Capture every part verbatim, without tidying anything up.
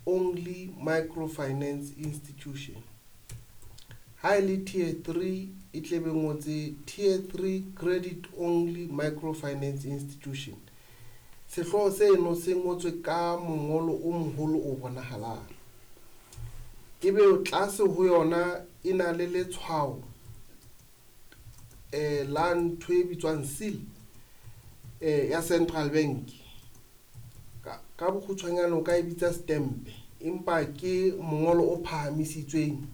Only Microfinance Institution. Ha e le tier three e tle be ngotse tier three Credit Only Microfinance Institution. Sehlooho seno se ngotswe ka mongolo o moholo o bonahalang. Ebe tlase ho yona e na le letshwao la ntho e bitswang seal ya Central Bank. Ka bokgutshwanyane o ka e bitsa setempe, empa ke mongolo o phahamisitsweng,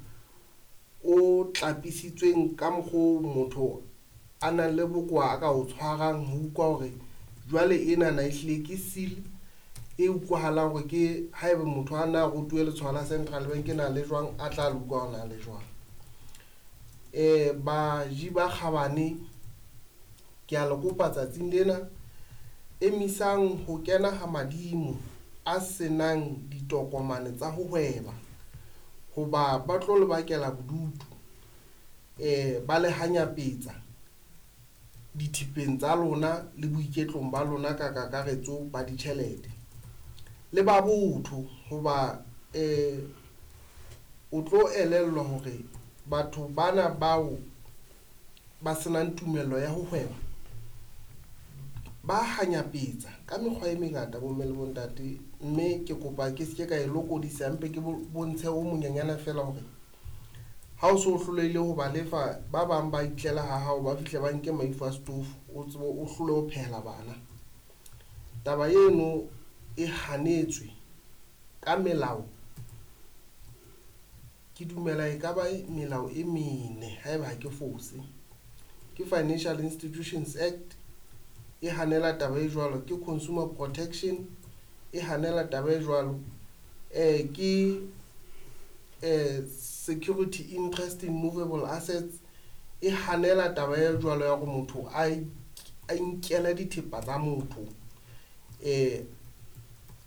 o tlapisitsweng ka mokgo motho a nang le bokowa a ka o tshwarang ho utlwa hore jwale enana ehlile ke seal e utlwahalang hore ke haeba motho a na rutuwe letshwao la Central Bank na le jwang, a tla le utlwa hore na le jwang. Baji ba kgabane, kea le kopa tsatsing lena emisang ho kena ha madimo a senang ditokomane tsa ho hweba, ho ba ba tlo le bakela bodutu, ba le hanyapetsa dithepeng tsa lona le boiketlong ba lona ka kakaretso ba ditjhelete le ba botho ho ba o tlo elellwa hore batho bana bao ba senang tumello ya ho hweba, ba hanyapetsa ka mekgwa e mengata bomme le bontate, mme ke kopa ke se ke ka e lokodisa mpe ke bontshe o monyenyane fela hore ha o so hlolehile ho ba lefa, ba bang ba itlela ha hao, ba fihle ba nke maifo a setofo, o tsebe o hlole ho phehela bana. Taba eno e hanetswe ka melao, ke dumela e ka ba melao e mene haeba ha ke fose. Ke Financial Institutions Act e hanela taba e jwalo, ke Consumer Protection e hanela taba e jwalo, ke Security Interest in Movable Assets e hanela taba e jwalo ya hore motho a a inkele dithepa tsa motho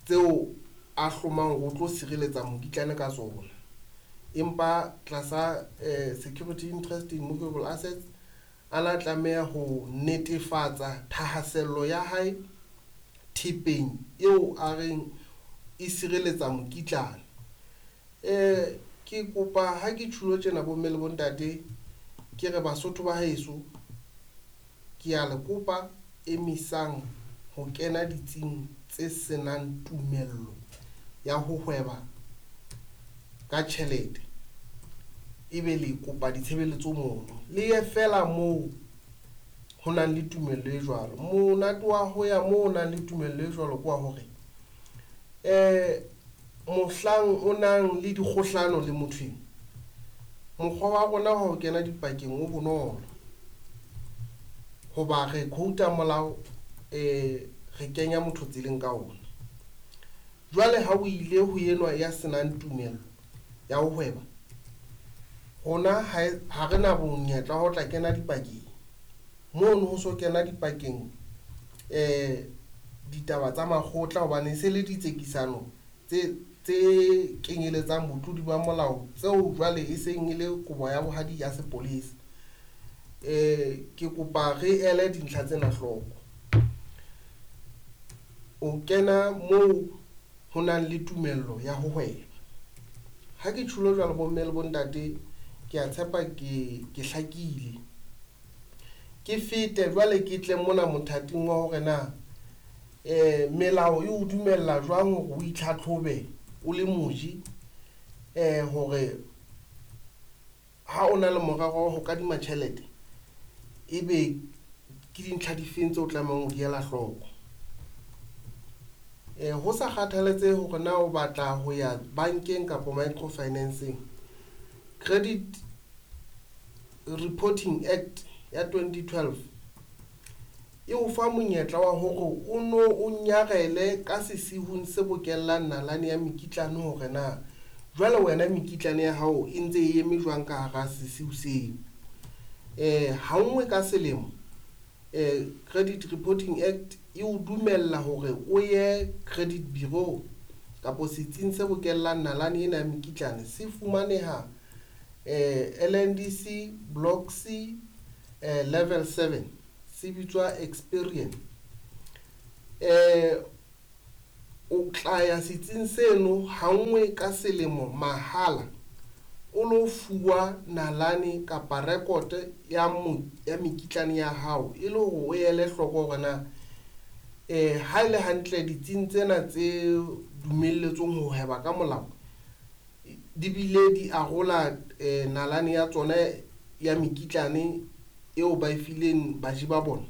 tseo a hlomang hore o tlo sireletsa mokitlane ka tsona. Empa tlasa Security Interest in Movable Assets a la tlameha ho netefatsa thahasello ya hae thepeng eo a reng e sireletsa mokitlane. Ke kopa ha ke tjhulo tjena bomme le bontate, ke re Basotho ba heso, ke a le kopa emisang ho kena ditsing tse senang tumello ya ho hweba ka tjhelete, ebe le kopa ditshebeletso mono, le ye fela moo ho nang le tumello e jwalo. Monate wa ho ya moo ho nang le tumello e jwalo ke wa hore mohlang o nang le dikgohlano le motho eno, mokgwa wa rona wa ho kena dipakeng o bonolo ho ba re quote-a molao, re kenya motho tseleng ka ona. Jwale ha o ile ho enwa ya senang tumello ya ho hweba, rona ha re na monyetla wa ho tla kena dipakeng mono, ho so kena dipakeng ditaba tsa makgotla hobane e se le ditsekisano tse tse kenyeletsang botlodi ba molao tseo jwale e seng e le kobo ya bohadi ya sepolesa. Ke kopa re ele dintlha tsena hloko. O kena moo ho nang le tumello ya ho hweba. Ha ke tjhulo jwalo bomme le bontate, ke a tshepa ke ke hlakile. Ke fete jwale ke tle mona mothating wa hore na melao e o dumella jwang hore o itlhatlhobe o le moji hore ha o na le morero wa ho kadima tjhelete, ebe ke dintlha difeng tseo o tlamehang ho di ela hloko. Ho sa kgathaletsehe hore na o batla ho ya bankeng kapa microfinanceng, Credit Reporting Act ya twenty twelve e o fa monyetla wa hore o no o nyarele ka sesihung se bokellang nalane ya mekitlane hore na jwale wena mekitlane ya hao e ntse e eme jwang ka hara sesiu seo. Ha nngwe ka selemo Credit Reporting Act e o dumella hore o ye credit bureau kapo setsing se bokellang nalane ena ya mekitlane, se fumaneha L N D C Block C level seven, se bitswa Experian. O tla ya setsing seno hanngwe ka selemo mahala o lo fuwa nalane kapa rekote ya mo, ya mekitlane ya hao e le hore o ele hloko hore na eh ha e le hantle ditsing tsena tse dumelletsweng ho hweba ka molao di bile di arola eh, nalane ya tsona ya mekitlane eo ba e fileng baji ba bona.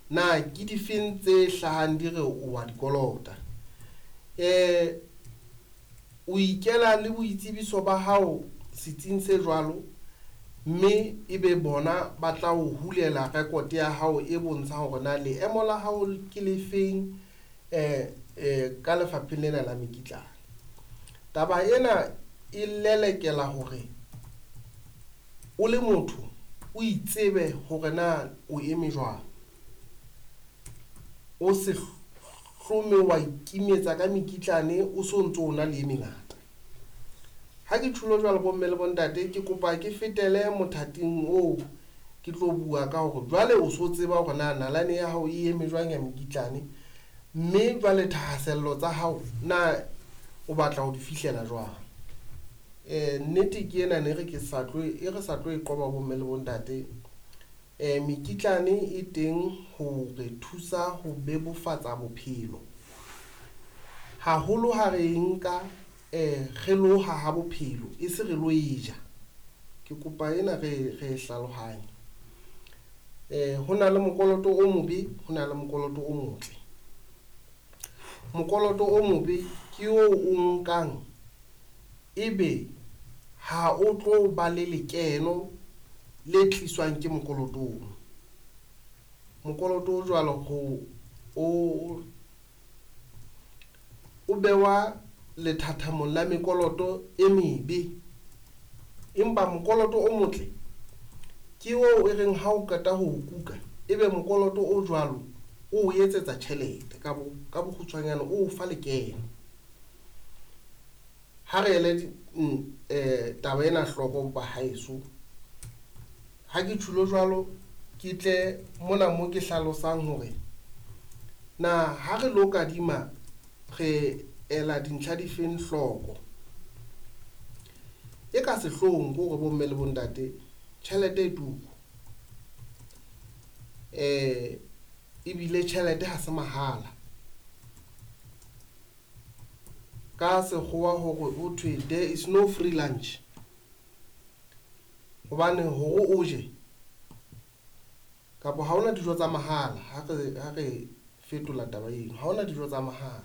Na ke difeng tse hlahang di re o wa di kolota? Eh o ikela le boitsebiso ba hao setsing se jwalo, mme ebe bona ba tla o hulela record ya hao e bontshang hore na leemo la hao ke le feng eh eh ka lefapheng lena la mekitlane. Taba ena e lelekela hore o le motho o itsebe hore na o eme jwang, o se hlome wa ikimetsa ka mekitlane o so ntso o na le e mengata. Ha ke tjhulo jwalo bomme le bontate, ke kopa ke fetele mothating oo ke tlo bua ka hore jwale o so tseba hore na nalane ya hao e eme jwang ya mekitlane, mme jwale thahasello tsa hao na o batla ho di fihlela jwang. Eh nnete ke ena ne re ke sa tlo e re sa tlo e qoba bomme le bontate. Eh mekitlane e teng ho re thusa ho bebofatsa bophelo haholo ha re nka eh re lo haha bophelo e se re lo e ja. Ke kopa ena re re hlalohanye. Eh ho na le mokoloto o mobe, ho na le mokoloto o motle. Mokoloto o mobe ke o o nkang ebe ha o tlo ba le lekeno le tliswang ke mokoloto ono. Mokoloto o jwalo ho o o bewa lethathamong la mekoloto e mebe, empa mokoloto o motle ke oo e reng ha o qeta ho o kuka ebe mokoloto o jwalo o o etsetsa tjhelete ka bo ka bokgutshwanyane o o fa lekeno. Ha re ele eh taba ena hloko ba haeso. Ha ke tjhulo jwalo ke tle mona mo ke hlalosang hore na ha re lo kadima re ela dintlha difeng hloko. E ka sehloohong ke hore bomme le bontate tjhelete e turu, eh ebile tjhelete ha se mahala. Ka sekgowa hore ho thwe there is no free lunch, hobane hore o je kapa ha hona dijo tsa mahala. Ha re ha re fetola taba eno, ha hona dijo tsa mahala.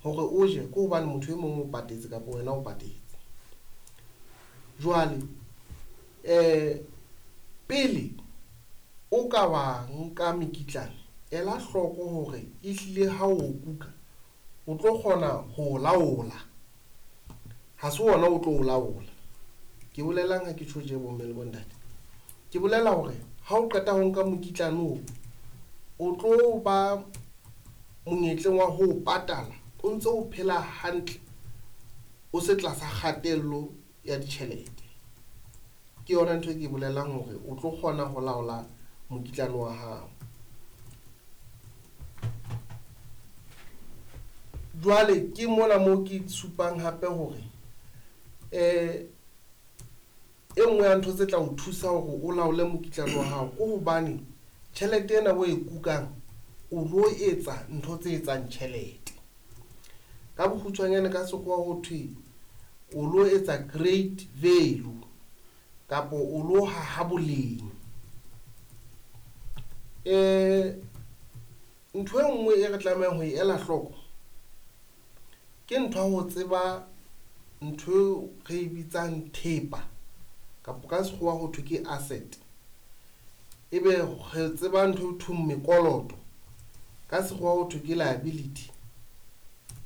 Hore o je ke hobane motho e mong o patetse kapa wena o patetse. Jwale eh pele o ka wa nka mekitlane, ela hloko hore ehlile ha o kuka o tlo kgona ho laola, ha se wona o tlo o laola. Ke bolelang ha ke tjho tje bomme le bontate? Ke bolela hore ha o qeta ho nka mokitlane oo, o tlo ba monyetleng wa ho patala o ntse o phela hantle, o se tlasa kgatello ya ditjhelete. Ke yona ntho e ke bolelang hore o tlo kgona ho laola mokitlane wa hao. Jwale ke mona moo ke supang hape hore eh e nngwe ya ntho tse tla o thusa hore o laole mokitlane wa hao ke hobane tjhelete ena o e kukang o lo etsa ntho tse etsang tjhelete. Ka bokgutshwanyane ka sekgowa ho thwe o lo etsa great value kapa o lo haha boleng. Eh ntho e nngwe e re tlamehang ho e ela hloko ke ntho ya ho tseba ntho eo re e bitsang thepa kapa ka sekgowa ho thwe ke asset, ebe re tseba ntho e thweng mekoloto ka sekgowa ho thwe ke liability,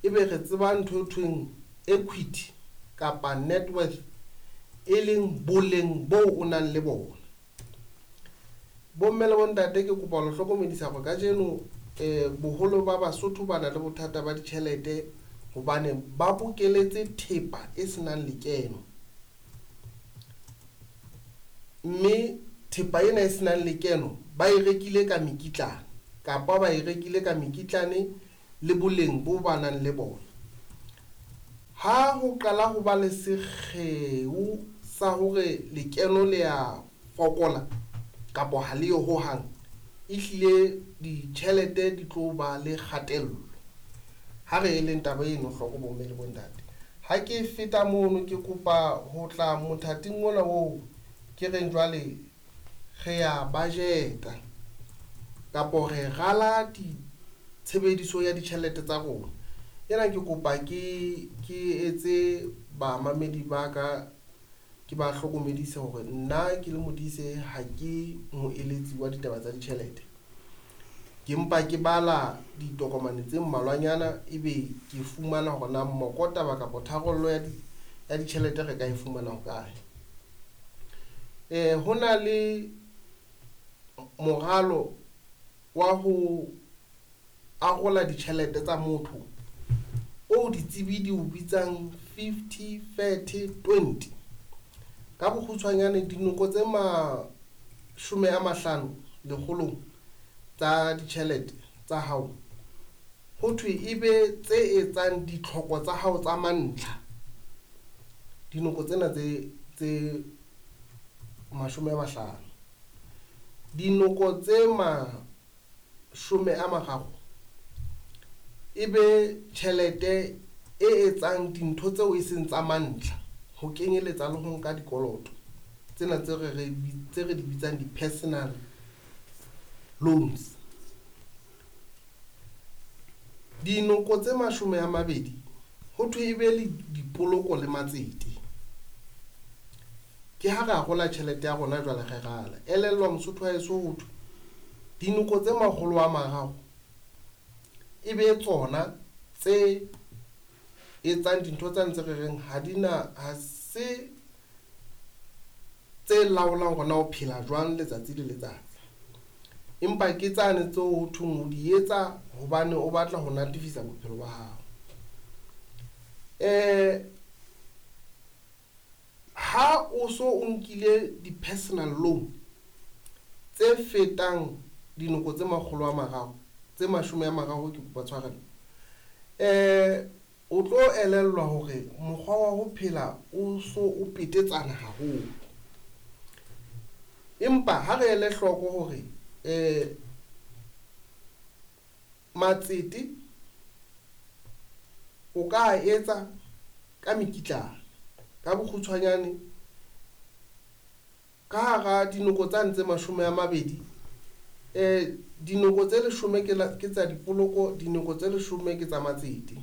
ebe re tseba ntho e thweng equity kapa net worth e leng boleng bo o nang le bona. Bomme le bontate, ke kopa ho le hlokomedisa hore kajeno eh boholo ba Basotho ba na le bothata ba ditjhelete hobane ba bokeletse thepa e senang lekeno, mme thepa ena e senang lekeno ba e rekile ka mekitlane kapa ba e rekile ka mekitlane le boleng bo ba nang le bona. Ha ho qala ho ba le sekgeo sa hore lekeno le ya fokola kapa ha le yo hohang, ehlile ditjhelete di tlo ba le kgatello. Ha re eleng taba eno hloko bomme le bontate. Ha ke feta mono ke kopa ho tla mothating ona oo ke reng jwale re ya budget-a kapo re rala ditshebediso ya ditjhelete tsa rona. Ena ke kopa ke ke etse bamamedi ba ka ke ba hlokomedise hore nna ke le Modise ha ke moeletsi wa ditaba tsa ditjhelete. Ke mpa ke bala ditokomane tse mmalwanyana ebe ke fumana hore na mokotaba kapa tharollo ya di ya ditjhelete re ka e fumana hokae. Eh ho na le moralo wa ho arola ditjhelete tsa motho o ditsebi di o bitsang fifty thirty twenty. Ka bokgutshwanyane dinoko tse mashome a mahlano lekgolong tsa ditjhelete tsa hao ho thwe ebe tse etsang ditlhoko tsa hao tsa mantlha. Dinoko tsena tse tse mashome a mahlano, dinoko tse mashome a mararo ebe tjhelete e etsang dintho tseo e seng tsa mantlha, ho kenyeletsa le ho nka dikoloto tsena tse re re tse re di bitsang di-personal loans. Dinoko tse mashome a mabedi ho thwe ebe le dipoloko le matsete. Ke ha re arola tjhelete ya rona jwale re rala. Elellwa Mosotho wa heso ho thwe dinoko tse makgolo a mararo e be tsona tse etsang dintho tsa ntse re reng ha di na ha se tse laolang hore na o phela jwang letsatsi le letsatsi, empa ke tsane tseo ho thweng o di etsa hobane o batla ho natefisa bophelo ba hao. Eh ha o so o nkile di-personal loan tse fetang dinoko tse makgolo a mararo tse mashome a mararo, ke kopa tshwarelo, eh o tlo elellwa hore mokgwa wa ho phela o so o petetsana haholo. Empa ha re ele hloko hore eh matsete o ka etsa ka mekitlane ka bokgutshwanyane ka hara dinoko tsa ntse mashome a mabedi, eh dinoko tse leshome ke la, ke tsa dipoloko, dinoko tse leshome ke tsa matsete.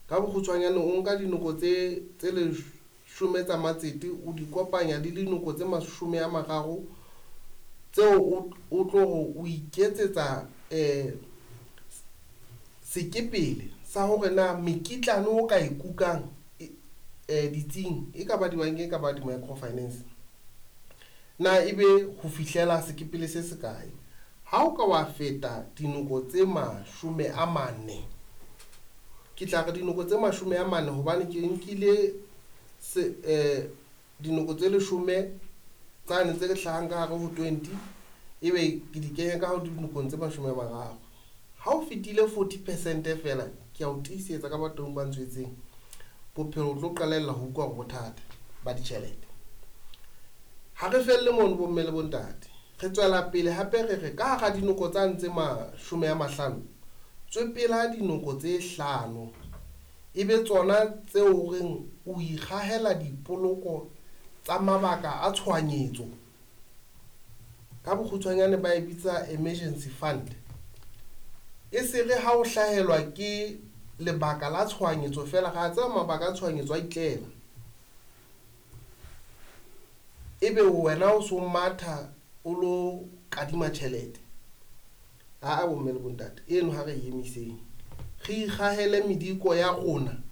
Ka bokgutshwanyane o nka dinoko tse tse leshome tsa matsete o di kopanya le dinoko tse mashome a mararo tseo o, o tlo re o iketsetsa eh sekepele sa hore na mekitlane o ka e kukang eh ditsing e ka ba dibankeng, e ka ba di-microfinance, na ebe ho fihlela sekepele se sekae. Ha o ka wa feta dinoko tse mashome a mane, ke tla re dinoko tse mashome a mane hobane ke nkile se eh dinoko tse leshome tsane tse hlahang ka hare ho twenty ebe ke di kenya ka ho dinokong tse mashome a mararo. Ha o fetile forty percent feela, ke a o tiisetsa ka batho ba ntswetseng bophelo o tlo qalella ho utlwa hore bothata ba ditjhelete. Ha re felle mono bomme le bontate, re tswela pele hape re re ka hara dinoko tsa ntse mashome a mahlano, tswepela dinoko tse hlano ebe tsona tseo o reng o ikgahela dipoloko tsa mabaka a tshohanyetso. Ka bokgutshwanyane ba e bitsa emergency fund. E se re ha o hlahelwa ke lebaka la tshohanyetso feela, ra tseba mabaka a tshohanyetso a itlela, ebe wena o so matha o lo kadima tjhelete. Aa bomme le bontate, eno ha re e emiseng, re ikgahele mediko ya rona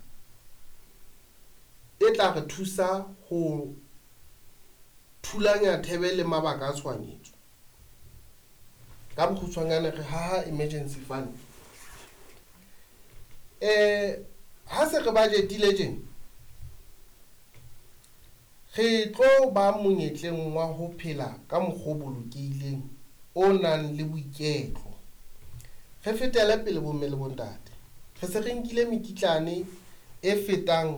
e tla re thusa ho thulanya thebe le mabaka a tshohanyetso. Ka bokgutshwanyane re haha emergency fund. Eh ha se re budgetile tjena, re tlo ba monyetleng wa ho phela ka mokgwa o bolokehileng o nang le boiketlo. Re fetele pele bomme le bontate. Re se re nkile mekitlane e fetang